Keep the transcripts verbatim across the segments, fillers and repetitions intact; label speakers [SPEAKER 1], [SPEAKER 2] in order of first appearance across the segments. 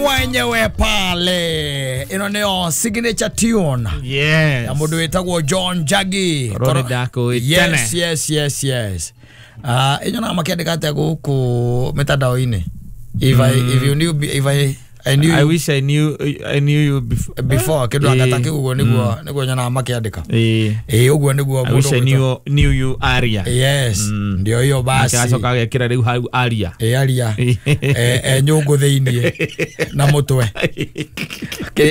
[SPEAKER 1] Mwenyewe pale ino nio signature tune.
[SPEAKER 2] Yes.
[SPEAKER 1] Ya mundu witagwo John Jaggi.
[SPEAKER 2] Korwo ndako.
[SPEAKER 1] Yes, yes, yes, yes. Ah, uh, inyo na makiandika atia guku mitandao-ini. If mm. I if you knew if I I knew
[SPEAKER 2] I you, wish I knew I knew you before
[SPEAKER 1] before kindu agataki uguo niguo niguo nyona makiandika.
[SPEAKER 2] Eh
[SPEAKER 1] eh uguo niguo
[SPEAKER 2] I wish I knew knew you aria.
[SPEAKER 1] Yes. Mm. Ndio hiyo basi.
[SPEAKER 2] Akacoka agekira riu hau aria.
[SPEAKER 1] Eh aria. Eh eh nyungu thiini na mutwe.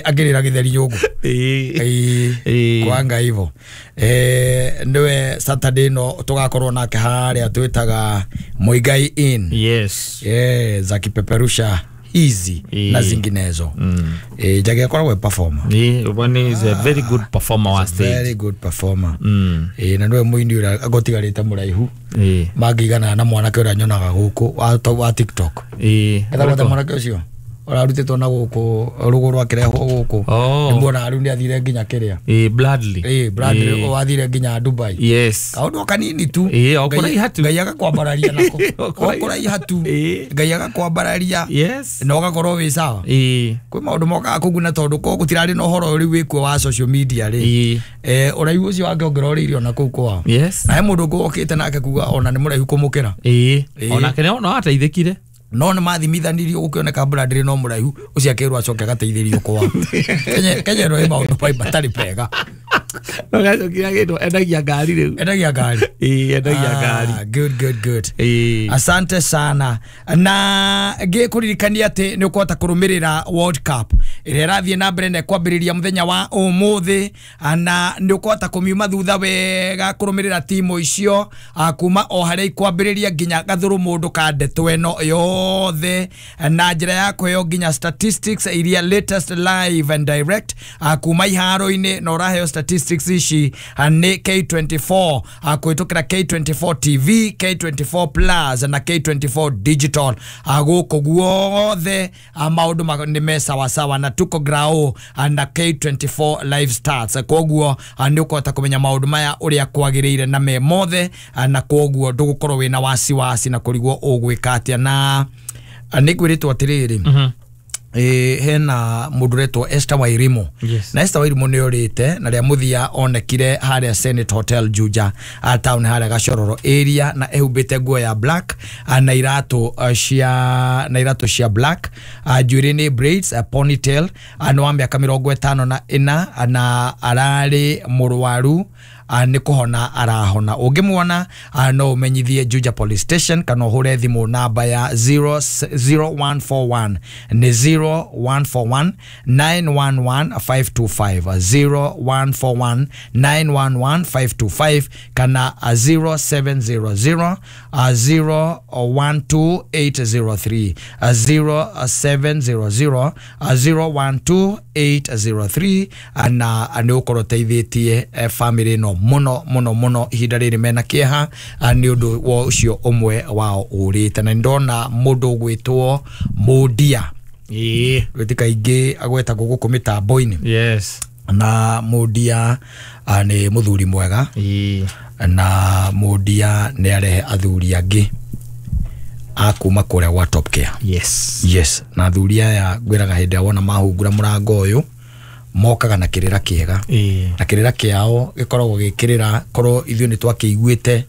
[SPEAKER 1] Akirira githeri nyungu.
[SPEAKER 2] Eh
[SPEAKER 1] eh kwanga hivyo. Eh niwe Saturday no tugakorwo nake haria twitaga Muigai Inn.
[SPEAKER 2] Yes.
[SPEAKER 1] Eh za kipeperusha hizi
[SPEAKER 2] e.
[SPEAKER 1] na zinginezo.
[SPEAKER 2] Mm.
[SPEAKER 1] Eh Jaggi akoragwo performer.
[SPEAKER 2] Eh one is a very good performer wa stage.
[SPEAKER 1] Very good performer.
[SPEAKER 2] Mm.
[SPEAKER 1] Eh na niwe muini uria agotigarite muraihu.
[SPEAKER 2] Eh
[SPEAKER 1] mangigana na mwanake uria nyonaga guku wa, wa TikTok.
[SPEAKER 2] Eh
[SPEAKER 1] etagwo mwanake ucio urarutitwo na guku ruguru akirehwo guku.
[SPEAKER 2] Oh.
[SPEAKER 1] Nimuona riu ni athire nginya kiria.
[SPEAKER 2] Eh Bradley.
[SPEAKER 1] Eh Bradley wathire nginya Dubai.
[SPEAKER 2] Yes.
[SPEAKER 1] Kaundu kanini tu.
[SPEAKER 2] Eh okuraiha tu.
[SPEAKER 1] Ngai agakwambararia nako. Okuraiha tu. Ngai agakwambararia.
[SPEAKER 2] Yes.
[SPEAKER 1] Na ugakorwo wi sawa.
[SPEAKER 2] Eh
[SPEAKER 1] kwi maundu mokaga kuguna tondu ko gutirari na uhoro riu wikuo wa social media ri. Eh uraihu ucio wangeongerereirio na kuu kwao.
[SPEAKER 2] Yes.
[SPEAKER 1] Na he mundu ngokite nake kuga ona ni muraihu kumukira.
[SPEAKER 2] Eh onake no ateithikire.
[SPEAKER 1] No nĩ mathimithanirio gũkĩoneka Bradley no mũraihu ũcio akĩrwo acoke agateithĩrio kwao. Kenya Kenya no ĩ maũndũ pai matarĩ pega.
[SPEAKER 2] No gacokire agĩtwo endagia ngari rĩu.
[SPEAKER 1] Endagia ngari.
[SPEAKER 2] Ĩĩ endagia ngari.
[SPEAKER 1] Good good good.
[SPEAKER 2] Ĩĩ.
[SPEAKER 1] Asante sana. Na ngĩkũririkania atĩ nĩ ũkũhota kũrũmĩrĩra World Cup ĩrĩa ĩrathiĩ na mbere na ĩkwambĩrĩria mũthenya wa ũmũthĩ, na nĩ ũkũhota kũmiuma thutha wega kũrũmĩrĩra timu icio kuma o harĩa ikwambĩrĩria nginya gathũrũ mũndũ ka ndeto ĩno yothe na njĩra ya kũheo nginya statistics iria latest live and direct kuma iharo-inĩ, na ũraheo statistics ici nĩ K twenty-four kũhĩtũkĩra K twenty-four T V, K twenty-four Plus na K twenty-four Digital. Gũkũ guothe maũndũ nĩ me sawasawa na tuko grao na K twenty-four live stats, koguo nĩ ũkũhota kũmenya maũndũ maya ũrĩa kwagĩrĩire na me mothe, na koguo ndũgũkorwo wĩna wasiwasi na kũrigwo ũgwĩka atĩa. Na nĩ ngwĩrĩtwo atĩrĩrĩ, eh hena mundu retwo Esther Wairimu.
[SPEAKER 2] Yes.
[SPEAKER 1] Na Esther Wairimu ni orite na ria muthia onekire haria Senate Hotel Juja a town haria Gachororo area, na ehumbite nguo ya black na iratu cia na iratu cia black, njuĩrĩ ni braids, ponytail, no wa miaka mĩrongo ĩtano na ĩna, na ararĩ mũrwaru nĩ kũhona arahona. Ũngĩmuona no ũmenyithie Juja Police Station kana ũhũre thimũ namba ya zero zero one four one nĩ zero one four one nine one one five two five, zero one four one nine one one five two five kana zero seven zero zero zero one two eight zero three, zero seven zero zero zero one two eight zero three, na nĩ ũkorwo ũteithĩtie family no muno muno muno ihinda rĩrĩ mena kĩeha nĩ ũndũ wa ũcio ũmwe wao ũrĩte. Na ndona mũndũ ũgwĩtwo Mũndia
[SPEAKER 2] ĩĩ
[SPEAKER 1] wĩtĩ kaingĩ agwetagwo gũkũ mĩtambo-inĩ.
[SPEAKER 2] Yes.
[SPEAKER 1] Na Mũndia nĩ mũthuri mwega
[SPEAKER 2] ĩĩ,
[SPEAKER 1] na Mũndia nĩ arehe athuri angĩ a kuma kũrĩa gwa Top Care.
[SPEAKER 2] Yes.
[SPEAKER 1] Yes. Na athuri aya ngwĩraga hĩndĩ ĩrĩa wona mahungura mũrango ũyũ mokaga na kĩrĩra kĩega, na kĩrĩra kĩao gĩkoragwo gĩkĩrĩra korwo ithuĩ nĩ twakĩiguĩte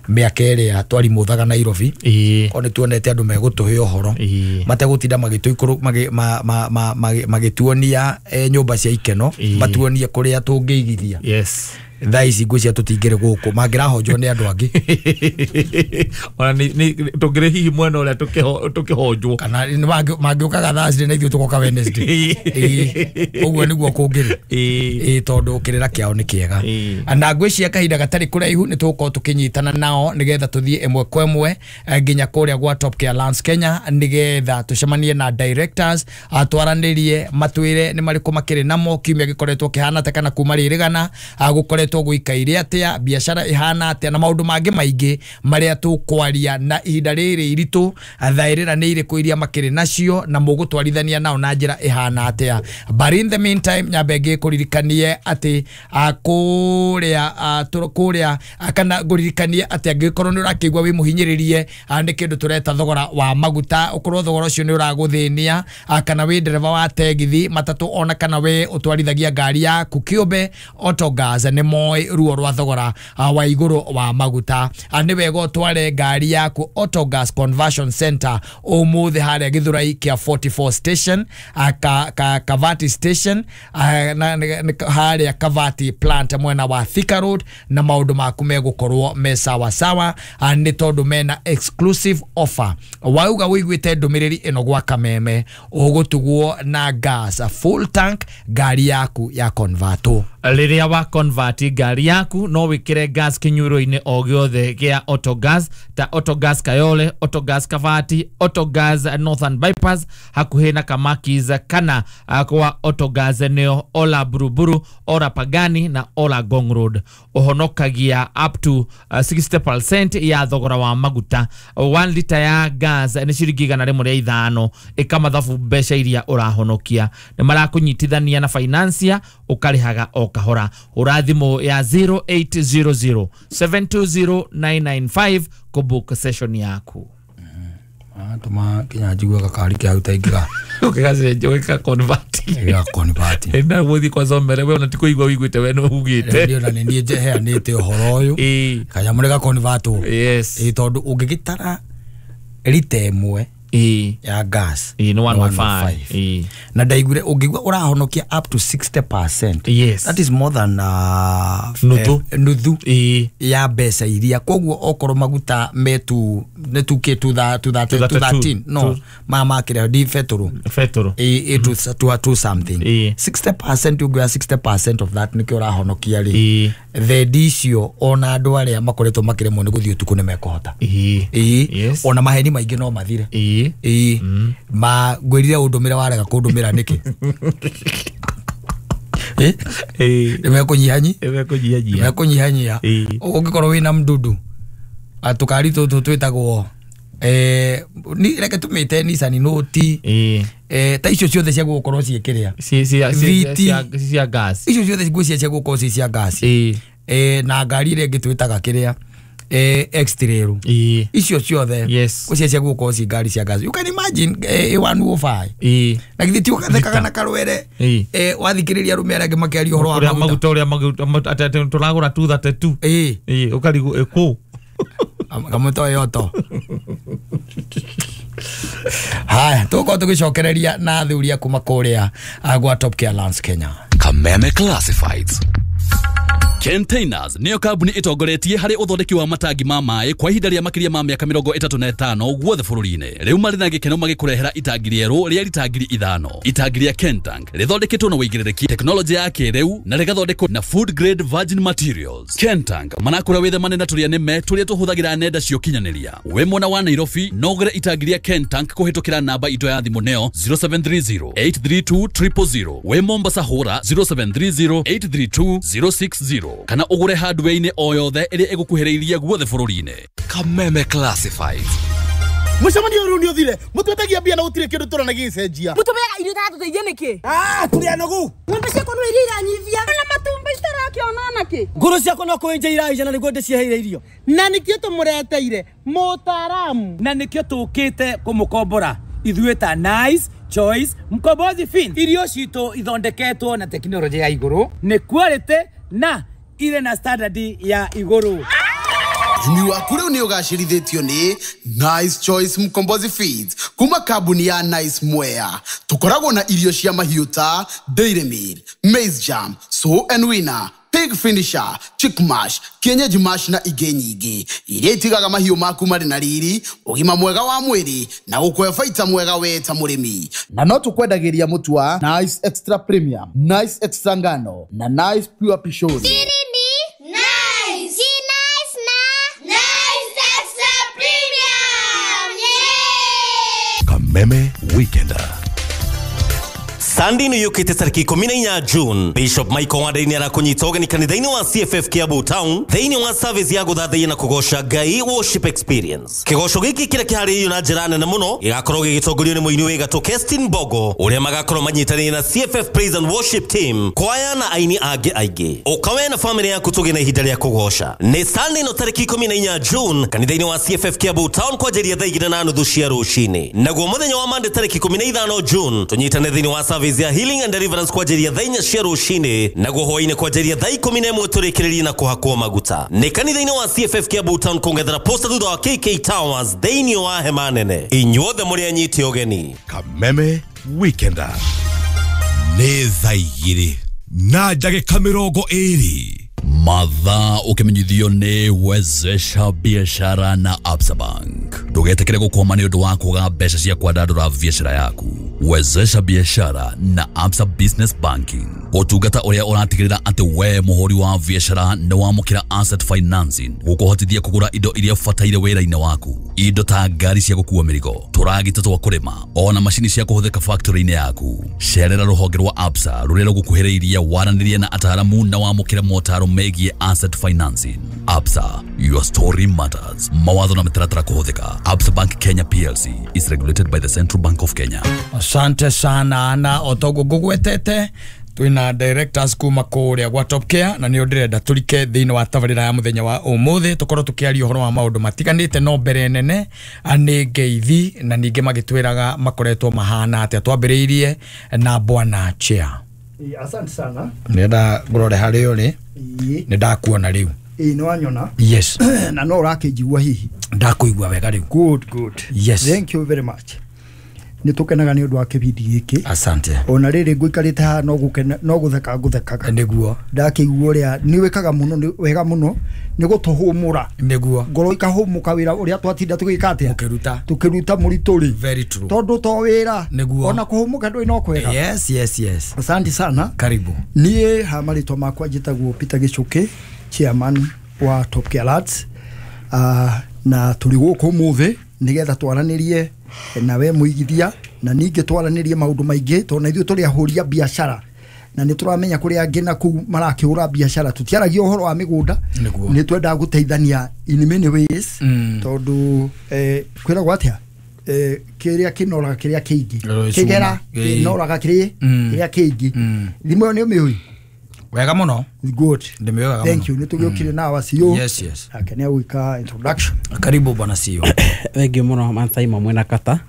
[SPEAKER 1] mĩaka ĩrĩa twarimũthaga Nairobi, korwo nĩ tuonete andũ megũtũhe ũhoro mategũtinda magĩtuonia nyũmba cia ikeno, matuonie kũrĩa tũngĩigithia.
[SPEAKER 2] Yes.
[SPEAKER 1] Thaa ici ngwĩciria tũtingĩrĩ gũkũ mangĩrahonjwo nĩ andũ angĩ
[SPEAKER 2] ona nĩ tũngĩrĩ hihi mwena ũrĩa tũkĩhonjwo
[SPEAKER 1] kana mangĩũkaga Thursday na ithuĩ tũgoka Wednesday. Ũguo nĩguo kũngĩrĩ ĩĩ, tondũ kĩrĩra kĩao nĩ kĩega. Na ngwĩciria kahinda gatarĩ kũraihu nĩ tũgũkorwo tũkĩnyitana nao nĩgetha tũthiĩ ĩmwe kwa ĩmwe nginya kũrĩa gwa Top Care Lands Kenya nĩgetha tũcemanie na directors twaranĩrie matwĩre nĩ marĩkũ makĩrĩ namo kiumia gĩkoretwo kĩhana ta kana kuma rĩrĩgana gũkoretwo Gũkoretwo gũikaire atĩa, biacara ĩhana atĩa, na maũndũ mangĩ maingĩ marĩa tũkwaria na ihinda rĩrĩ iritũ, thaĩrĩra nĩ irĩkũ iria makĩrĩ nacio na mũgũtwarithania nao na njĩra ĩhana atĩa. But in the meantime, nyambe ngĩkũririkanie atĩ kũrĩa kũrĩa kana ngũririkanie atĩ angĩkorwo nĩ ũrakĩigua wĩ mũhinyĩrĩrie nĩ kĩndũ tũreta thogora wa maguta, ũkorwo thogora ũcio nĩ ũragũthĩnia, kana wĩ ndereba wa tegithi matatũ, ona kana we ũtwarithagia ngari yaku kĩũmbe, Autogas nĩ moĩ ruo rwa thogora wa igũrũ wa maguta. Nĩ wega ũtware ngari yaku Autogas Conversion Center ũmũthĩ harĩa Gĩthũrai kĩa forty-four station, ka, ka, Kavati station, harĩa Kavati plant mwena wa Thika Road, na maũndũ maku megũkorwo me sawa sawa, nĩ tondũ mena exclusive offer. Wauga wĩiguĩte ndũmĩrĩri ĩno gwa Kameme, ũgũtugwo na gas full tank ngari yaku ya converto.
[SPEAKER 2] Rĩrĩa wa convert ngari yaku no wĩkĩre gas kĩnyuĩro-inĩ o gĩothe gĩa Autogas ta Autogas Kayole, Autogas Kavati, Autogas Northern Bypass hakuhĩ na Kamakis, kana kwa Autogas nĩo Ola Buruburu, Ola Pagani na Ola Gong Road. Ũhonokagia up to uh, sixty percent ya thogora wa maguta. One liter ya gas nĩ ciringi igana rĩmwe rĩa ithano, ĩkamathabu mbeca iria ũrahonokia. Nĩ marakũnyitithania na financier, ũkarĩhaga o kahora. Hũra thimũ ya zero eight zero zero seven two zero nine nine five kũbook session yaku.
[SPEAKER 1] Tuma kinya njigua gakari kia hau taingĩra
[SPEAKER 2] ũgĩgacenjia ũgĩka convert
[SPEAKER 1] gĩka convert
[SPEAKER 2] na gũthiĩ kwa somere we ona ti kũigua wĩiguĩte we nĩ ugĩte.
[SPEAKER 1] Ndio, na nĩ niĩ njeheanĩte ũhoro ũyũ kanyamũ nĩ ga convert. Yes, tondũ ũngĩgĩtara rita ĩmwe ya gas
[SPEAKER 2] nĩ one oh five,
[SPEAKER 1] na ndaiguire ũngĩigua ũrahonokia up to sixty percent.
[SPEAKER 2] Yes,
[SPEAKER 1] that is more than uh,
[SPEAKER 2] nuthu
[SPEAKER 1] eh, nuthu ya mbeca iria. Koguo okorwo maguta metu nĩ two K two thirteen no ma makĩrĩa di betũrũ
[SPEAKER 2] betũrũ
[SPEAKER 1] ĩ two two something, sixty percent ũngĩoya sixty percent of that nĩkĩo ũrahonokia rĩ. Thendi icio ona andũ arĩa makoretwo makĩremwo nĩ gũthiĩ ũtukũ nĩ mekũhota. Ĩ ona maheni maingĩ no mathire. Ĩ ma ngwĩrire ũndũmĩre warega kũndũmĩra nĩkĩ? Ĩ nĩ mekũnyihanyi
[SPEAKER 2] nĩ
[SPEAKER 1] mekũnyihanyia. Ũngĩkorwo wĩna mdudu tũkari tũtũ twĩtagwo eh ni reke tumite Nissan Note eh ta icio ciothe cia gũkorwo ciĩkĩrĩa
[SPEAKER 2] cia cia gas,
[SPEAKER 1] icio ciothe ngũcia cia gũkorwo ci cia gas eh na ngari ĩrĩa ĩngĩ twĩtaga kĩrĩa eh X-Trail, icio ciothe ngũcia cia gũkorwo ci ngari cia gas. You can imagine eh one oh five na githĩ ti ũgathekaga na karwere eh wathikĩrĩria arũme arĩa angĩ makĩaria ũhoro wa
[SPEAKER 2] maguta ũrĩa maguta tũragũra two thirty two
[SPEAKER 1] ĩ
[SPEAKER 2] ĩ ũkarigwo kũ
[SPEAKER 1] kamũto yoto. Haya, tuko tugicokereria na athuri kuma kũrĩa gwa Top Care Lands Kenya.
[SPEAKER 3] Kameme Classifieds. Containers niyo kambuni itongoretie harĩ ũthondeki wa matangi ma maĩ kwa ihinda rĩa makĩria ma mĩaka mĩrongo ĩtatũ na ĩtano guothe bũrũri-inĩ. Rĩu marĩ na gĩkeno magĩkũrehera itangi rĩerũ rĩa rita ngiri ithano. Itangi rĩa Kentank rĩthondeketwo na ũigĩrĩrĩki, tekinoronjĩ ya kĩrĩu na rĩgathondekwo na food grade virgin materials. Kentank manakũra wĩthemane na tũrĩa nĩme tũrĩa tũhũthagĩra nenda cia ũkinyanĩria. Wĩ mwena wa Nairobi no ũgũre itangi rĩa Kentank kũhĩtũkĩra namba itũ ya thimũ neo zero seven three zero eight three two triple zero. Wĩ Mombasa hũra zero seven three zero eight three two zero six zero kana ũgũre hardware-inĩ o yothe ĩrĩa ĩgũkuhĩrĩirie guothe bũrũri-inĩ. Kameme Classifieds.
[SPEAKER 4] Mũcemanio ũyũ nĩ ũthire, mũtwetagia mbia na gũtirĩ kĩndũ tũrona gĩgĩcenjia.
[SPEAKER 5] Mũtũmeaga irio itatũteithia nĩkĩ?
[SPEAKER 4] Ah, tũrĩ anogu.
[SPEAKER 5] Ng'ombe ciakwa no iria iranyivia. Na matumbĩ citarakĩona nakĩ?
[SPEAKER 6] Ngũrũ ciakwa no kũenja iraija na nĩguo ndĩciheire irio.
[SPEAKER 4] Na nĩkĩo tũmũreteire mũtaaramu.
[SPEAKER 6] Na nĩkĩo tũkĩte kũmũkombora ithuĩ ta Nice Choice Mkombozi Fin. Irio citũ ithondeketwo na tekinoronjĩ ya igũrũ, nĩ quality na ire na standard ya igũrũ.
[SPEAKER 4] Ũrĩmi waku rĩu nĩ ũgacĩrithĩtio nĩ Nice Choice Mkombozi Feeds kuma kambuni ya Nice Mwea. Tũkoragwo na irio cia mahiũ ta Dairy Meal, Maize Jam, Sow and Winner, Pig Finisher, Chick Mash, Kienyeji Mash na ingĩ nyingĩ iria itigaga mahiũ maku marĩ na riri, ũgima mwega wa mwĩrĩ na gũkũhe baita mwega we ta mũrĩmi. Na no tũkwendagĩria mũtu wa Nice Extra Premium, Nice Extra Ngano na Nice Pure Pishori.
[SPEAKER 7] Nice. Nice na Nice Extra Premium. Yeah!
[SPEAKER 3] Kameme Weekender.
[SPEAKER 8] Sunday nĩ yũkĩte tarĩki ikũmi na inya June. Bishop Michael Wandai nĩ arakũnyita ũgeni kanitha-inĩ wa C F F Kiambu Town thĩinĩ wa service ya gũthathaiya na kũgoca Ngai worship experience. Kĩgoco gĩkĩ kĩrĩa kĩharĩrĩirio na njĩra nene mũno gĩgakorwo gĩgĩtongorio nĩ mũini wĩ gatũ Kestin Bogo ũrĩa magakorwo manyitanĩire na C F F Praise and Worship Team, kwaya na aini angĩ aingĩ. Ũka we na famĩlĩ yaku tũgĩe na ihinda rĩa kũgoca. Nĩ Sunday no tarĩki ikũmi na inya June kanitha-inĩ wa C F F Kiambu Town kwanjĩrĩria thaa igĩrĩ na nuthu cia rũcinĩ. Naguo mũthenya wa Monday tarĩki ikũmi na ithano June tũnyitane thĩinĩ wa service ya healing and deliverance kwanjĩrĩria thaa inya cia rũcinĩ, naguo hwaĩ-inĩ kwanjĩrĩria thaa ikũmi na ĩmwe tũrĩkĩrĩrie na kũhakwo maguta. Nĩ kanitha-inĩ wa C F F Kiambu Town kũng'ethera posta thutha wa K K Towers thĩinĩ wa hema nene. Inyuothe mũrĩ anyite ũgeni.
[SPEAKER 9] Kameme Weekender nĩ thaa igĩrĩ na ndagĩka mĩrongo ĩrĩ.
[SPEAKER 3] Mathaa ũkĩmenyithio nĩ Wezesha Biashara na Absa Bank. Ndũgetĩkĩre gũkwama nĩ ũndũ wa kwaga mbeca cia kwandandũra biashara yaku. Wezesha Biashara na Absa Business Banking, ũtungata ũrĩa ũratigĩrĩra atĩ we mũhũri wa biashara nĩ wamũkĩra asset financing gũkũhotithia kũgũra indo iria ũbataire wĩra-inĩ waku, indo ta ngari cia gũkua mĩrigo, tũragita twa kũrĩma, ona macini cia kũhũthĩka factory-inĩ yaku. Cerera rũhonge rwa Absa rũrĩa rũgũkuhĩrĩirie, waranĩrie na ataaramu na wamũkĩre motaro megiĩ asset financing. Absa, your story matters. Mawatho na mĩtaratara kũhũthĩka. Absa Bank Kenya P L C is regulated by the Central Bank of Kenya.
[SPEAKER 1] Asante sana na otogo gugwetete twina directors kuma kuria gwa Top Care na nio ndirenda turike thiini wa tabarira ya muthenya wa umuthi tukorwo tukiaria uhoro wa maundu matiganite no mbere nene ani ngeithi na ningi magitwiraga makoretwo mahana atia twambiriirie na bwana chair.
[SPEAKER 10] Asante sana.
[SPEAKER 1] Nenda ngurore hari uri ni ndakuona riu.
[SPEAKER 10] Ĩĩ nĩ wanyona.
[SPEAKER 1] Yes.
[SPEAKER 10] Na no ũrakĩnjigua hihi.
[SPEAKER 1] Ndakuigua wega riu.
[SPEAKER 10] Good, good.
[SPEAKER 1] Yes.
[SPEAKER 10] Thank you very much. Nĩ tũkenaga nĩ ũndũ wa kĩbindi gĩkĩ.
[SPEAKER 1] Asante.
[SPEAKER 10] Ona rĩrĩ ngũikarĩte haha no gũkena no gũtheka ngũthekaga.
[SPEAKER 1] Nĩguo.
[SPEAKER 10] Ndakĩigua ũrĩa nĩ wĩkaga mũno nĩ wega mũno nĩ gũtũhũmũra.
[SPEAKER 1] Nĩguo.
[SPEAKER 10] Ngoro ikahũmũka wĩra ũrĩa twatinda tũgĩka atĩa?
[SPEAKER 1] Tũkĩruta.
[SPEAKER 10] Tũkĩruta mũritũ rĩ.
[SPEAKER 1] Very true.
[SPEAKER 10] Tondũ to wĩra.
[SPEAKER 1] Nĩguo.
[SPEAKER 10] Ona kũhũmũka ndũĩ no kwega.
[SPEAKER 1] Yes, yes, yes.
[SPEAKER 10] Asante sana.
[SPEAKER 1] Karibu.
[SPEAKER 10] Niĩ ha marĩtwa makwa njĩtagwo Peter Gĩchũkĩ, chairman wa Top Care Lads. Uh, na tũrĩ gũkũ ũmũthĩ nĩgetha twaranĩrie nawe mũigithia na ningĩ twaranĩrie maũndũ maingĩ tondũ na ithuĩ tũrĩ ahũri a biacara na nĩ tũramenya kũrĩa angĩ na kũu marakĩhũra biacara. Tũtiaragia ũhoro wa mĩgũnda, nĩ twendaga gũteithania in many ways tondũ eh, kwĩragwo atĩa eh, kĩrĩa kĩnoraga kĩrĩa kĩingĩ kĩgera kĩnoraga kĩrĩa kĩrĩa kĩingĩ. Thimũ ĩyo nĩ ũmĩũĩ
[SPEAKER 1] wega muno.
[SPEAKER 10] Good.
[SPEAKER 1] Ndimĩoĩ wega.
[SPEAKER 10] Thank you. Nĩ tũgĩũkire na wa C E O.
[SPEAKER 1] Yes, yes.
[SPEAKER 10] Ake nĩ agwĩka introduction.
[SPEAKER 1] Karibu bwana C E O.
[SPEAKER 11] Thank you mũno Mansaimo mwena kata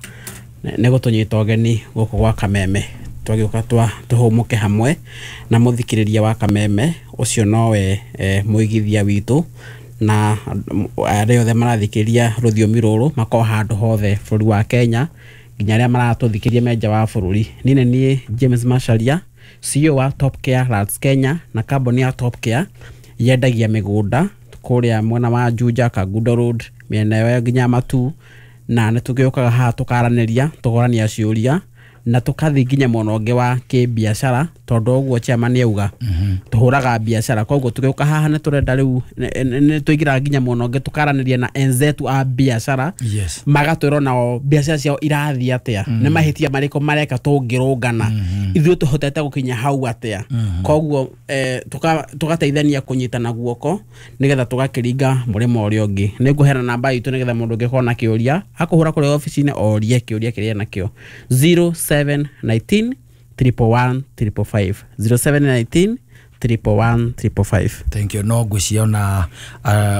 [SPEAKER 11] nĩ gũtũnyita ũgeni gũkũ gwa Kameme. Twagĩũka twa tũhũmũke hamwe na mũthikĩrĩria wa Kameme ũcio nowe eh, mũigithia witũ na arĩa othe marathikĩrĩria rũthiomi rũrũ makorwo handũ hothe bũrũri wa Kenya nginya arĩa maratũthikĩrĩria me nja wa bũrũri. Niĩ nĩ niĩ James Macharia, C E O wa Top Care Lads Kenya na kambuni ya Top Care yendagia mĩgũnda kũrĩa mwena wa Juja, Kangundo Road, mĩena ĩyo nginya Matu, na nĩ tũgĩũkaga haha tũkaranĩria tũkorania ciũria na tũkathiĩ nginya mwena ũngĩ wa kĩbiacara tondũ ũguo chairman auga tũhũraga biacara, koguo tũgĩũka haha nĩ tũrenda rĩu nĩ tũingĩraga nginya mwena ũngĩ tũkaranĩria na enzetu a biacara.
[SPEAKER 1] Yes.
[SPEAKER 11] Magatwĩra nao biacara ciao irathiĩ atĩa, nĩ mahĩtia marĩkũ mareka tũngĩrũngana, ithuĩ tũhotete gũkinya hau atĩa. Koguo tũgateithania kũnyitana guoko nĩgetha tũgakĩringa mũrĩmo ũrĩa ũngĩ. Nĩ ngũheana namba itũ nĩgetha mũndũ ũngĩkorwo na kĩũria akũhũra kũrĩa obici-inĩ orie kĩũria kĩrĩa nakĩo zero seven nineteen triple one triple five, zero seven nineteen triple one triple five.
[SPEAKER 1] Thank you. No ngwĩciria ona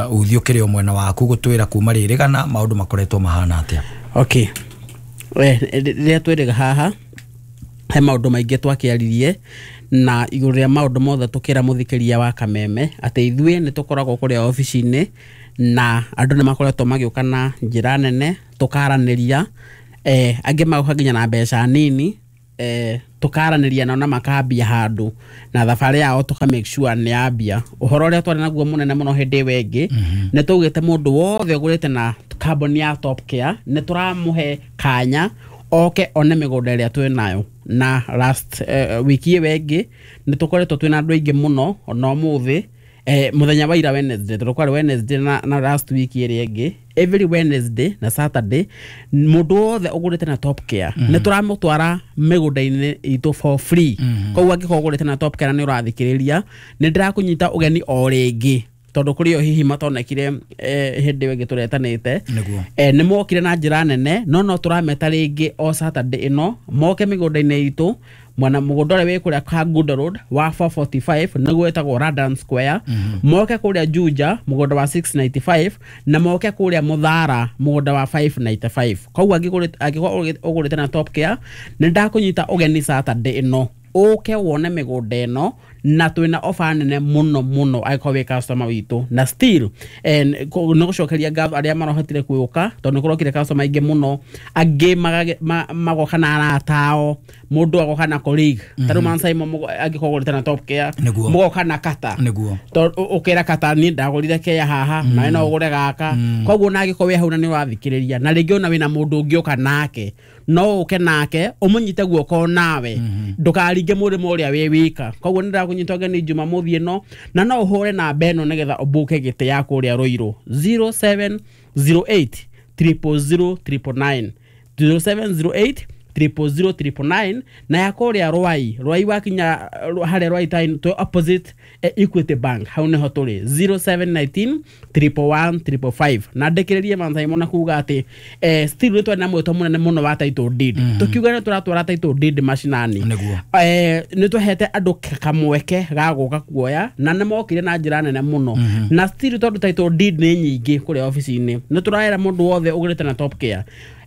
[SPEAKER 1] ũthiũ kĩrĩ o mwena waku gũtwĩra kuma rĩrĩ kana maũndũ makoretwo mahana atĩa.
[SPEAKER 11] Okay. Rĩrĩa twĩrĩga haha he maũndũ maingĩ twakĩaririe na igũrũ rĩa maũndũ mothe tũkĩra mũthikĩria wa Kameme atĩ ithuĩ nĩ tũkoragwo kũrĩa obici-inĩ na andũ nĩ makoretwo magĩũka na njĩra nene tũkaranĩria, eh, angĩ magoka nginya na mbeca nini, eh, tukaranĩria nao na makambia handũ na thabarĩ yao tuka make sure nĩ yambia. Ũhoro ũrĩa twarĩ naguo mũnene mũno hĩndĩ ĩyo ĩngĩ nĩ twaugĩte mũndũ wothe ũgũrĩte na kambuni ya Top Care nĩ tũramũhe kanya oke one mĩgũnda ĩrĩa twĩ nayo. Na last uh, wiki ĩyo ĩngĩ nĩ tũkoretwo twĩna andũ aingĩ mũno ona ũmũthĩ, eh, mũthenya wa ira Wednesday, tondũ kwarĩ Wednesday na, na last week ĩrĩa ĩngĩ Every Wednesday na Saturday mũndũ wothe ũgũrĩte na Top Care nĩ tũramũtwara mĩgũnda-inĩ itũ for free. Koguo angĩkorwo ũgũrĩte na Top Care na nĩ ũrathikĩrĩria, nĩ ndĩrakũnyita ũgeni o rĩngĩ, tondũ kũrĩ o hihi matonekire eh, hĩndĩ ĩyo ĩngĩ tũretanĩte.
[SPEAKER 1] Nĩguo.
[SPEAKER 11] eh, nĩ mokire na njĩra nene, no no tũrameta rĩngĩ o Saturday ĩno moke mĩgũnda-inĩ itũ, mwena mũgũnda ũrĩa wĩ kũrĩa Kangundo Road wa four forty-five, nĩguo wĩtagwo Radan Square, moke kũrĩa Juja mũgũnda wa six ninety-five, na moke kũrĩa Mũthara mũgũnda wa five ninety-five. Koguo angĩgũrĩte- angĩkorwo ũgũrĩte na Top Care, nĩ ndakũnyita ũgeni Saturday ĩno ũke wone mĩgũnda ĩno, na twĩna ofa nene mũno mũno angĩkorwo wĩ customer witũ. Na still eh, nĩ gũcokeria ngatho arĩa marahotire kwĩũka, tondũ nĩ kũrokire customer aingĩ mũno, angĩ magage- ma- magoka na arata ao, mũndũ agoka na colleague ta rĩu Mansaimo, angĩkorwo ũgũrĩte na Top Care,
[SPEAKER 1] Nĩguo.
[SPEAKER 11] mũgoka na kata.
[SPEAKER 1] Nĩguo.
[SPEAKER 11] Tondũ ũkĩra kata, niĩ ndagũrire kea haha, nawe no ũgũre gaka. Koguo na angĩkorwo wĩ hau na nĩ ũrathikĩrĩria, na rĩngĩ ona wĩna mũndũ ũngĩũka nake, no ũke nake ũmũnyite guoko nawe, ndũkaringe mũrĩmo ũrĩa wĩ wika. Koguo nĩ ndĩrakũnyita ũgeni Jumamothi ĩno, na no ũhũre namba ĩno nĩgetha ũmbuke gĩtĩ ya kũrĩa Rũirũ, zero seven zero eight triple zero triple nine, zero seven zero eight triple zero triple nine, na ya kũrĩa Rwai, Rwai wakinya uh, harĩa Rwai town to opposite eh, Equity Bank, hau nĩho tũrĩ, zero seven one nine triple one triple five. Na ndĩkĩrĩrie Mansaimo na kuga atĩ eh, still nĩ twarĩ na mwĩto mũnene mũno wa title deed, tũkiuga nĩ tũratwara title deed macinani.
[SPEAKER 1] Nĩguo.
[SPEAKER 11] eh, nĩ twahete andũ k- kamweke ga gũka kuoya, na nĩ mokire na njĩra nene mũno. Na still, tondũ title deed nĩ nyingĩ kũrĩa obici-inĩ, nĩ tũraera mũndũ wothe ũgũrĩte na Top Care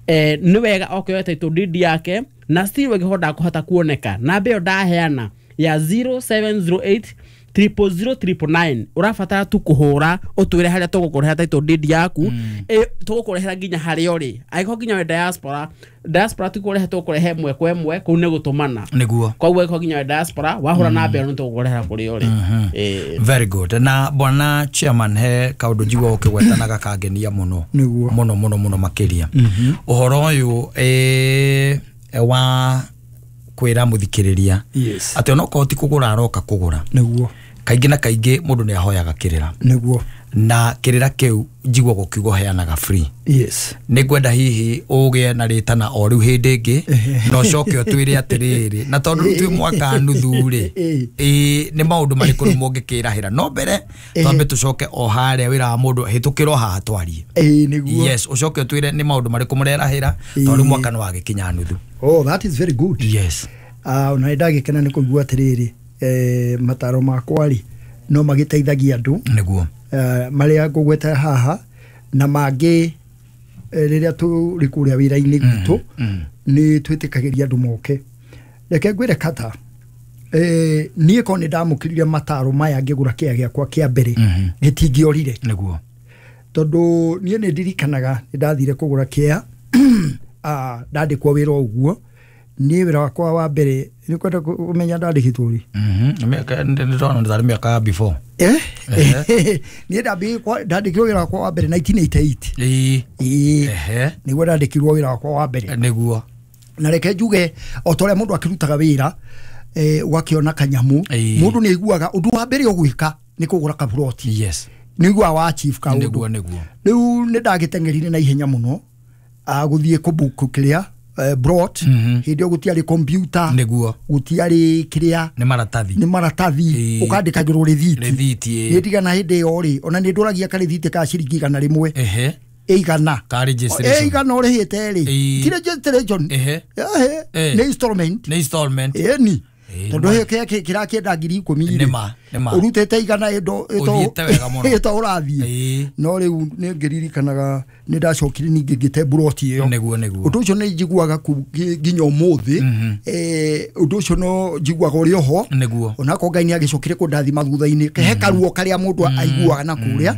[SPEAKER 11] eh, nĩ wega oke oe title deed yake. Na still ũngĩkorwo ndakũhota kuoneka, namba ĩyo ndaheana ya zero seven zero eight triple zero triple nine, ũrabatara tu kũhũra ũtwĩre harĩa tũgũkũrehera title deed yaku. mm. Tũgũkũrehera nginya harĩa ũrĩ. Angĩkorwo nginya wĩ diaspora, diaspora ti kũrehe, tũgũkũrehe ĩmwe kwa ĩmwe, kũu nĩ gũtũmana.
[SPEAKER 1] Nĩguo.
[SPEAKER 11] Koguo angĩkorwo nginya wĩ diaspora, wahũra namba ĩyo nĩ tũgũkũrehera kũrĩa ũrĩ. Ĩĩ.
[SPEAKER 1] Very good. Na bwana chairman, he kaundu njigua ukigwetana gakangenia muno.
[SPEAKER 10] Nĩguo.
[SPEAKER 1] Muno muno muno makiria uhoro uyu eh, wa kwira muthikiriria
[SPEAKER 10] Yes.
[SPEAKER 1] ati onokorwo ti kugura aroka kugura,
[SPEAKER 10] Nĩguo.
[SPEAKER 1] kaingĩ na kaingĩ mũndũ nĩ ahoyaga kĩrĩra,
[SPEAKER 10] Nĩguo.
[SPEAKER 1] na kĩrĩra kĩu njigua gũkiuga ũheanaga free.
[SPEAKER 10] Yes.
[SPEAKER 1] Nĩ ngwenda hihi ũgĩe na rĩtana o rĩu hĩndĩ ĩngĩ, na ũcoke ũtwĩre atĩrĩrĩ, na tondũ rĩu twĩ mwaka nuthu rĩ, ĩĩ, nĩ maũndũ marĩkũ rĩu mũngĩkĩrahĩra? No mbere twambe tũcoke o harĩa wĩra wa mũndũ hĩtũkĩrwo haha twarie.
[SPEAKER 10] Ĩĩ, nĩguo.
[SPEAKER 1] Yes, ũcoke ũtwĩre nĩ maũndũ marĩkũ mũrerahĩra, tondũ rĩu mwaka nĩ wagĩkinya nuthu.
[SPEAKER 10] Oh, that is very good.
[SPEAKER 1] Yes.
[SPEAKER 10] Ah, ona nĩ ndagĩkena nĩ kũigua atĩrĩrĩ, eh, mataro makwa rĩ no magĩteithagia andũ.
[SPEAKER 1] Nĩguo.
[SPEAKER 10] eh, marĩa ngũgweta haha na mangĩ, eh, rĩrĩa tũrĩ kũrĩa wĩra-inĩ gwitũ nĩ twĩtĩkagĩria andũ moke. Reke ngwĩre kata, eh, niĩ korwo nĩ ndamũkĩrire mataro maya ngĩgũra kĩa gĩakwa kĩa mbere, gĩtingĩorire.
[SPEAKER 1] Nĩguo.
[SPEAKER 10] Tondũ niĩ nĩ ndirikanaga nĩ ndathire kũgũra kĩa, ah, ndandĩkwo wĩra o ũguo. Niĩ wĩra wakwa wa mbere, nĩ kwenda kũmenya ndandĩkĩtwo rĩ?
[SPEAKER 1] Nĩ ndona nĩ tarĩ mĩaka ya before.
[SPEAKER 10] Eh? Niĩ ndambĩrĩirie kwa- ndandĩkirwo wĩra wakwa wa mbere nineteen eighty-eight.
[SPEAKER 1] Ĩĩ.
[SPEAKER 10] Ĩĩ.
[SPEAKER 1] Ehe.
[SPEAKER 10] Nĩguo ndandĩkirwo wĩra wakwa wa mbere.
[SPEAKER 1] Nĩguo.
[SPEAKER 10] Na reke njuge, o ta ũrĩa mũndũ akĩrutaga wĩra, eh, ũgakĩona kanyamũ,
[SPEAKER 1] Ĩĩ.
[SPEAKER 10] mũndũ nĩ aiguaga ũndũ wa mbere ũgwĩka nĩ kũgũra kaburoti.
[SPEAKER 1] Yes.
[SPEAKER 10] Nĩ ũiguaga wa chief kaũndũ.
[SPEAKER 1] Nĩguo, nĩguo.
[SPEAKER 10] Rĩu nĩ ndagĩteng'erire na ihenya mũno, ah, gũthiĩ kũbuku kĩrĩa eh, brot. Hĩndĩ ĩyo gũtiarĩ computer.
[SPEAKER 1] Nĩguo.
[SPEAKER 10] Gũtiarĩ kĩrĩa.
[SPEAKER 1] Nĩ maratathi.
[SPEAKER 10] Nĩ maratathi.
[SPEAKER 1] Ĩĩ.
[SPEAKER 10] Ũkandĩkagĩrwo rĩthiti.
[SPEAKER 1] Rĩthiti, ĩĩ.
[SPEAKER 10] Nĩ ndigana hĩndĩ ĩyo rĩ, ona nĩ ndũragia karĩthiti ka ciringi igana rĩmwe.
[SPEAKER 1] Ehe.
[SPEAKER 10] Igana.
[SPEAKER 1] Ka registration.
[SPEAKER 10] Ĩ, igana ũrĩhĩte rĩ.
[SPEAKER 1] Ĩĩ.
[SPEAKER 10] Ti registration.
[SPEAKER 1] Ehe.
[SPEAKER 10] Ehe.
[SPEAKER 1] Eh.
[SPEAKER 10] Nĩ installment.
[SPEAKER 1] Nĩ installment.
[SPEAKER 10] Ĩni.
[SPEAKER 1] Ĩĩ,
[SPEAKER 10] Tondũ
[SPEAKER 1] nĩ ma.
[SPEAKER 10] kĩrĩa kĩrakĩenda ngiri ikũmi rĩ,
[SPEAKER 1] Nĩ ma, nĩ ma.
[SPEAKER 10] ũrutĩte igana ĩndo
[SPEAKER 1] Ũthiĩte wega mũno.
[SPEAKER 10] ĩto ũrathiĩ.
[SPEAKER 1] Ĩĩ.
[SPEAKER 10] No rĩu nĩ ngĩririkanaga nĩ ndacokire ningĩ ngĩte mburoti ĩyo.
[SPEAKER 1] Nĩguo, nĩguo.
[SPEAKER 10] Ũndũ ũcio nĩ njiguaga ku- ngi- nginya ũmũthĩ, eh, ũndũ ũcio no njiguaga ũrĩ oho.
[SPEAKER 1] Nĩguo.
[SPEAKER 10] Onakorwo Ngai nĩ agĩcokire kũndathima thutha-inĩ, he karuo karĩa mũndũ aiguaga na kũrĩa.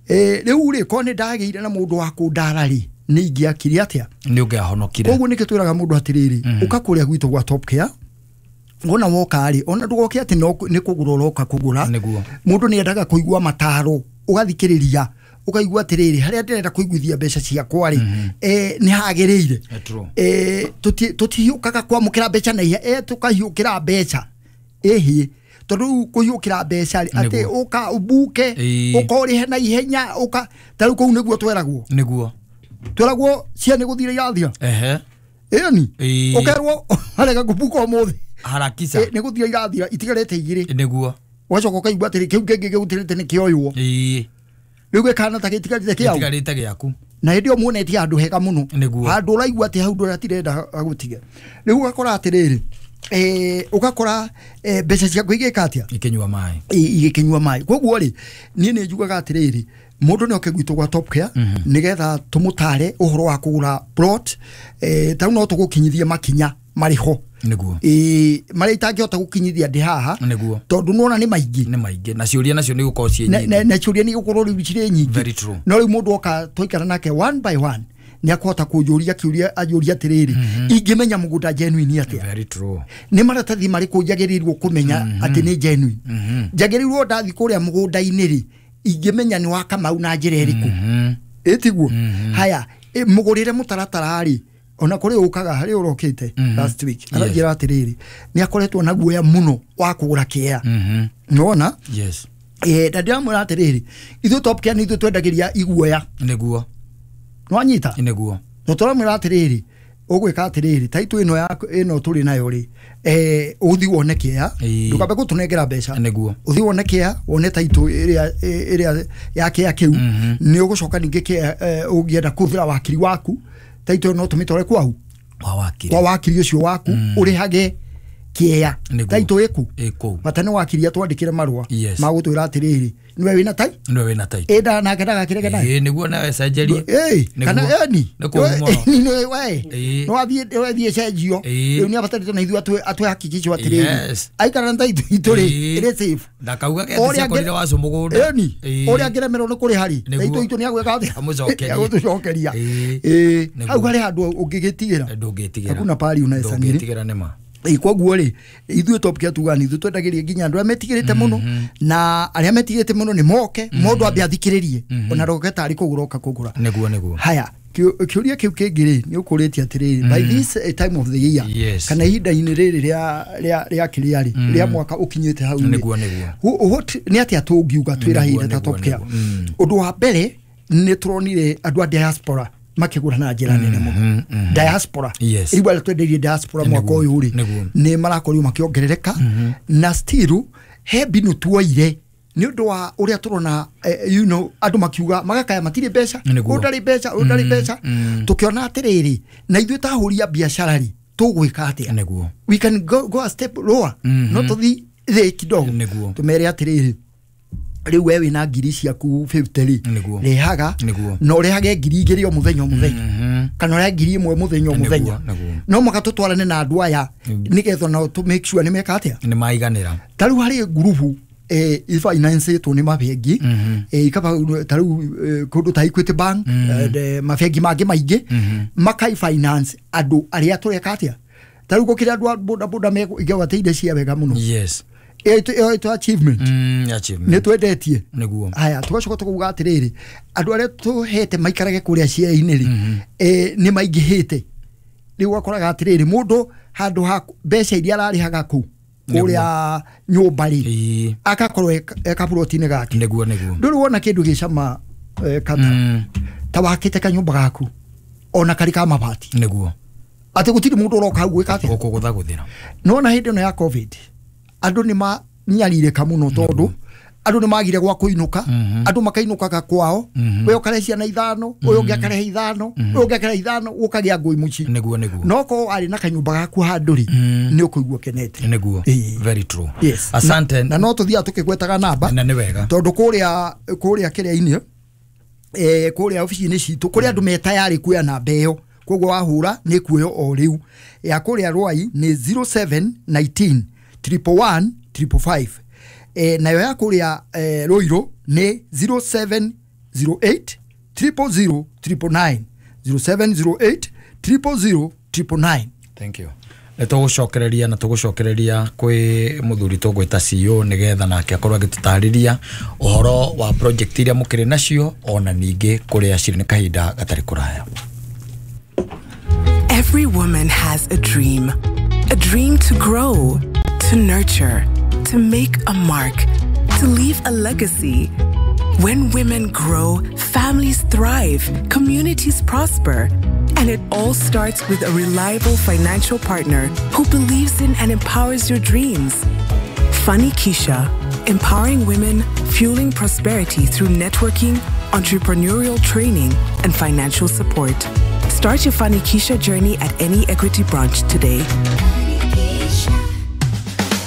[SPEAKER 10] Eh, rĩu rĩ, korwo nĩ ndagĩire na mũndũ wa kũndara rĩ, nĩ ingĩakire atĩa?
[SPEAKER 1] Nĩ ũngĩahonokire.
[SPEAKER 10] Koguo nĩkĩo twĩraga mũndũ atĩrĩrĩ, ũka kũrĩa gwitũ gwa Top Care. Wona woka rĩ, ona ndũgoke atĩ no nĩ kũgũra ũroka kũgũra.
[SPEAKER 1] Nĩguo.
[SPEAKER 10] Mũndũ nĩ endaga kũigua mataro, ũgathikĩrĩria, ũkaigua atĩrĩrĩ, harĩa ndĩrenda kũiguithia mbeca ciakwa rĩ, eh, nĩ hagĩrĩire.
[SPEAKER 1] Eh, true.
[SPEAKER 10] Eh, tũti- tũtihiũkaga kwamũkĩra mbeca na ihenya, eh, tũkahiũkĩra mbeca ĩhĩ. Tondu riu kuhiukira mbeca ri ati uka ubuke uka urihe na ihenya uka ta riu kuu niguo tweragwo
[SPEAKER 1] niguo
[SPEAKER 10] tweragwo cia ni guthira irathira
[SPEAKER 1] ehe
[SPEAKER 10] ĩni ukerwo arega kubuka umuthi
[SPEAKER 1] harakisa
[SPEAKER 10] ni guthira irathira itigarite igiri
[SPEAKER 1] niguo
[SPEAKER 10] ugacoka ukaigua atiri kiu kingi gigutirite ni kioywo
[SPEAKER 1] ĩĩ
[SPEAKER 10] riu gikana ta gitigarite kiau
[SPEAKER 1] gitigarite giaku
[SPEAKER 10] na hindi muonetie handu hega muno handu uraigua ati hau nduratirenda agutige riu ugakora atiriri eh ugakora mbeca ciaku igika atia
[SPEAKER 1] ikinyua mai
[SPEAKER 10] igikinyua mai koguo ri nie ni njugaga atiriri mundu ni oke gwitũ gwa Top Care nigetha tumutare uhoro wa kugura plot eh tau no tugukinyithie makinya mariho
[SPEAKER 1] niguo
[SPEAKER 10] eh maria itangihota gukinyithia ndi haha
[SPEAKER 1] niguo
[SPEAKER 10] tondu nona ni maingi
[SPEAKER 1] ni maingi na ciuria nacio ni gukorwo ciĩ nyingi
[SPEAKER 10] na ciuria ni gukorwo riu cirĩ nyingi
[SPEAKER 1] very true
[SPEAKER 10] no riu mundu oka twaikara nake one by one ni akuhota kunjuria kiuria anjuria atiriri ingimenya mugunda genuine atia
[SPEAKER 1] very true
[SPEAKER 10] ni maratathi mariku njagirirwo kumenya ati ni genuine njagirirwo ndathi kuria mugunda-ini ri ingimenya ni wa Kamau na njira iriku itiguo haya mugurire mutaratara ri ona kuri ukaga hari urokite last week aranjira atiriri ni akoretwo na guoya muno wa kugura kia nona
[SPEAKER 1] yes
[SPEAKER 10] eh ndadiramwira atiriri ithu Top Care ni ithu twendagiria iguoya
[SPEAKER 1] niguo
[SPEAKER 10] nwanyita
[SPEAKER 1] niguo
[SPEAKER 10] no turamwira atiriri ugwika atiriri taito ino ya ino turi nayo ri eh uthi wone kia ndukambe gutunengera mbeca
[SPEAKER 1] niguo
[SPEAKER 10] uthi wone kia wone taito iria iria ya kia kiu ni ugucoka ningi kia ungienda kuthira wakiri waku taito no tumitore kwau
[SPEAKER 1] kwa wakiri
[SPEAKER 10] kwa wakiri ucio waku urihage kia taito iku
[SPEAKER 1] iku
[SPEAKER 10] bata ni wakiri atwandikire marua magutwira atiriri niwe wina tai
[SPEAKER 1] niwe wina tai
[SPEAKER 10] enda nake ndagakirege naye
[SPEAKER 1] eh niguo nawe cenjerie
[SPEAKER 10] eh kana eni ni we no athie athie cenjio riu ni abatarite na ithu atwe atwe hakikisho atiriri aikara na taito ituri iri safe
[SPEAKER 1] ndakauga ke ciakorire wacu mugunda
[SPEAKER 10] eni uria ngiremerwo ni kuri hari taito itu ni agwika atia
[SPEAKER 1] amucokerie
[SPEAKER 10] agutucokeria eh hau hari handu ungigitigira
[SPEAKER 1] ndungitigira
[SPEAKER 10] hakuna pari unaweza nini
[SPEAKER 1] ndungitigira nima
[SPEAKER 10] koguo ri ithuĩ Top Care tuga ni ithuĩ twendagĩria nginya andũ arĩa metigĩrĩte mũno na arĩa metigĩrĩte mũno nĩ moke mũndũ ambe athikĩrĩrie ona ndoke tarĩ kũgũra oka kũgũra
[SPEAKER 1] nĩguo nĩguo
[SPEAKER 10] haya kĩũria kĩu kĩngĩ rĩ nĩ ũkũrĩtie atĩrĩrĩ by this time of the year kana ihinda-inĩ rĩrĩ rĩa rĩa rĩa kĩrĩa rĩ rĩa mwaka ũkinyĩte hau
[SPEAKER 1] nĩguo nĩguo
[SPEAKER 10] nĩ atĩa tũngiuga twĩrahĩire ta Top Care ũndũ wa mbere nĩ tũronire andũ a diaspora makigura na njira nene muno diaspora riu aria twendeirie diaspora mwaka uyu ri ni marakorirwo makiongerereka na still he mbinu tuoire ni undu wa uria turona you know andu makiuga magakaya matire mbeca undari mbeca undari mbeca tukiona atiriri na ithuĩ ta ahũri a biacara ri tugwika atia
[SPEAKER 1] niguo
[SPEAKER 10] we can go, go a step lower no tuthi thi kidogo tumere atiriri riu we wina ngiri ciaku fifty ri rehaga no rehage ngiri igiri o muthenya o muthenya kana reha ngiri imwe muthenya o muthenya no mwaka tutwarane na andu aya nigetha no to make sure ni meka atia
[SPEAKER 1] ni maiganira
[SPEAKER 10] ta riu hari ngurubu eh ifinance ni mabengi eh ikaba ta riu kundu ta Equity Bank mabengi mangi maingi makai finance andu aria tureka atia ta riu gukira andu a boda boda megwateire cia wega muno
[SPEAKER 1] yes
[SPEAKER 10] ĩyo ĩtwo achievement
[SPEAKER 1] mm achievement
[SPEAKER 10] nĩ twendetie
[SPEAKER 1] nĩguo
[SPEAKER 10] haya tugacoka tukuga atiriri andu aria tuhete maikarage kuria cia-inĩ rĩ eh nĩ maingĩhĩte rĩu ũgakoraga atiriri mũndũ handũ ha mbeca iria ararĩhaga kũu kũrĩa nyũmba rĩ akakorwo e kaburoti-inĩ gake
[SPEAKER 1] nĩguo nĩguo
[SPEAKER 10] ndũrĩ wona kĩndũ gĩcama kata ta wakĩte kanyũmba gaku ona karĩ ka mabati
[SPEAKER 1] nĩguo
[SPEAKER 10] atĩ gũtirĩ mũndũ ũroka hau gwĩka atĩa
[SPEAKER 1] gũkũgũthagũthĩra
[SPEAKER 10] nĩwona hĩndĩ ĩno ya covid andu ni manyarire muno tondu andu ni magire gwa kuinuka andu makainukaga kwao we ukarehe ciana ithano uyu ungi akarehe ithano uyu ungi akarehe ithano ukagia ngui muci
[SPEAKER 1] niguo niguo
[SPEAKER 10] no ko ari na kanyumba gaku handu ri ni ukuigua kenete
[SPEAKER 1] niguo very true
[SPEAKER 10] yes
[SPEAKER 1] asante
[SPEAKER 10] na no tuthia tukigwetaga namba
[SPEAKER 1] na ni wega
[SPEAKER 10] tondu kuria kuria kiria-ini eh kuria ofici-ini citu kuria andu me tayari kuoya namba iyo koguo wahura ni kuoyo o riu ya kuria Rwai ni zero seven nineteen triple one triple five eh nayo ya kuria eh, Ruiru ni zero seven zero eight triple zero triple nine zero seven zero eight triple zero triple nine.
[SPEAKER 1] Thank you. Nĩtũgũcokereria na tũgũcokereria kwĩ mũthuri tũgwĩta C E O nĩgetha nake akorwo agĩtũtarĩria ũhoro wa project iria mũkĩrĩ nacio ona ningĩ kũrĩa cirĩ nĩ kahinda gatarĩ kũraya.
[SPEAKER 12] Every woman has a dream. A dream to grow, to nurture, to To make a mark, to leave a legacy. When women grow, families thrive, communities prosper. And it all starts with a reliable financial partner who believes in and empowers your dreams. Fanikisha, empowering women, fueling prosperity through networking, entrepreneurial training, and financial support. Start your Fanikisha journey at any Equity branch today.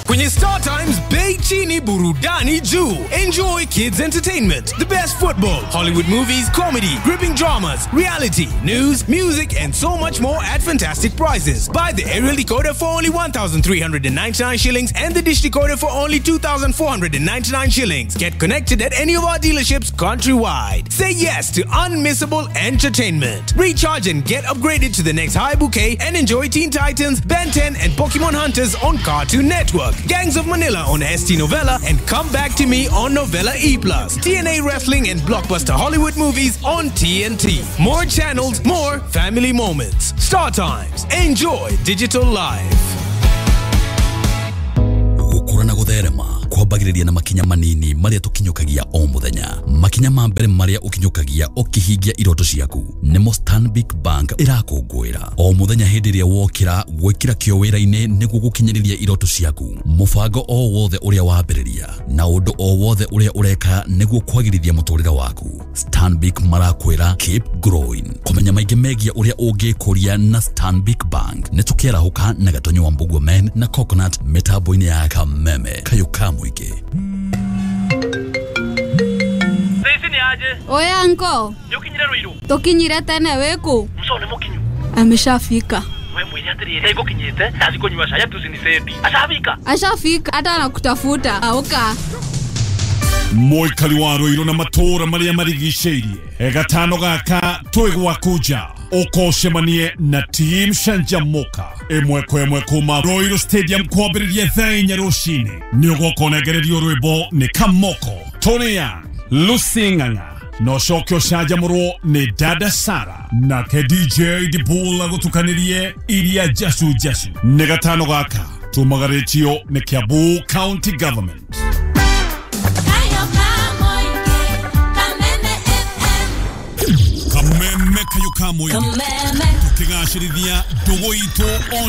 [SPEAKER 13] Kwenye Star Times, bei chini, burudani juu. Enjoy kids entertainment, the best football, Hollywood movies, comedy, gripping dramas, reality, news, music, and so much more at fantastic prices. Buy the aerial decoder for only one thousand three hundred ninety-nine shillings and the dish decoder for only two thousand four hundred ninety-nine shillings. Get connected at any of our dealerships countrywide. Say yes to unmissable entertainment. Recharge and get upgraded to the next high bouquet and enjoy Teen Titans, Ben ten, and Pokemon Hunters on Cartoon Network, Gangs of Manila on S T Novella, and Come Back to Me on Novella E plus. T N A Wrestling and blockbuster Hollywood movies on T N T. More channels, more family moments. Star Times. Enjoy digital life.
[SPEAKER 3] Gukura na gutherema kwambagĩrĩria na makinya manini marĩa tũkinyũkagia o mũthenya. Makinya ma mbere marĩa ũkinyũkagia ũkĩhingia iroto ciaku nĩmo Stanbic Bank ĩrakũngũĩra o mũthenya. Hĩndĩ ĩrĩa wokĩra gwĩkĩra kĩo wĩra-inĩ nĩguo gũkinyĩrĩria iroto ciaku, mũbango o wothe ũrĩa wambĩrĩria na ũndũ o wothe ũrĩa ũreka nĩguo kwagĩrithia mũtũrĩre waku, Stanbic marakwĩra keep growing. Kũmenya maingĩ megiĩ ũrĩa ũngĩkũria na Stanbic Bank nĩ tũkĩarahũka na Gatonyo wa Mbugua Men na Coconut mĩtambo-inĩ ya Kameme kayo ka mũingĩ.
[SPEAKER 5] Oya anko,
[SPEAKER 14] nĩũkinyire Ruiru?
[SPEAKER 5] Tukinyire tene wĩkũ?
[SPEAKER 14] Muco nĩ mũkinyu.
[SPEAKER 5] Ameshafika.
[SPEAKER 14] We mwĩre atĩrĩrĩ, ngũkinyĩte ndathi kũnyua cai atucinicendi. Ashafika.
[SPEAKER 5] Ashafika hata anakutafuta. Auka.
[SPEAKER 9] Mũikari wa Ruiru na matũũra marĩa marigicĩirie, gatano gaka twĩ gwaku nja ũkocemanie na Team Canjamuka ĩmwe kwa ĩmwe kuma Ruiru Stadium kwambĩrĩria thaa inya rũcinĩ. Nĩ ũgoka ũnengererio rwĩmbo nĩ Kamoko, Tony Young, Lucy Ng'ang'a na ũcoke ũcanjamũrwo nĩ Dada Sara nake D J Dibul agũtukanĩrie iria njacu njacu. Nĩ gatano gaka tumagarĩtio nĩ Kiambu County Government. Kameme kayo ka mũingĩ tukĩgacĩrithia ndũgũ itũ.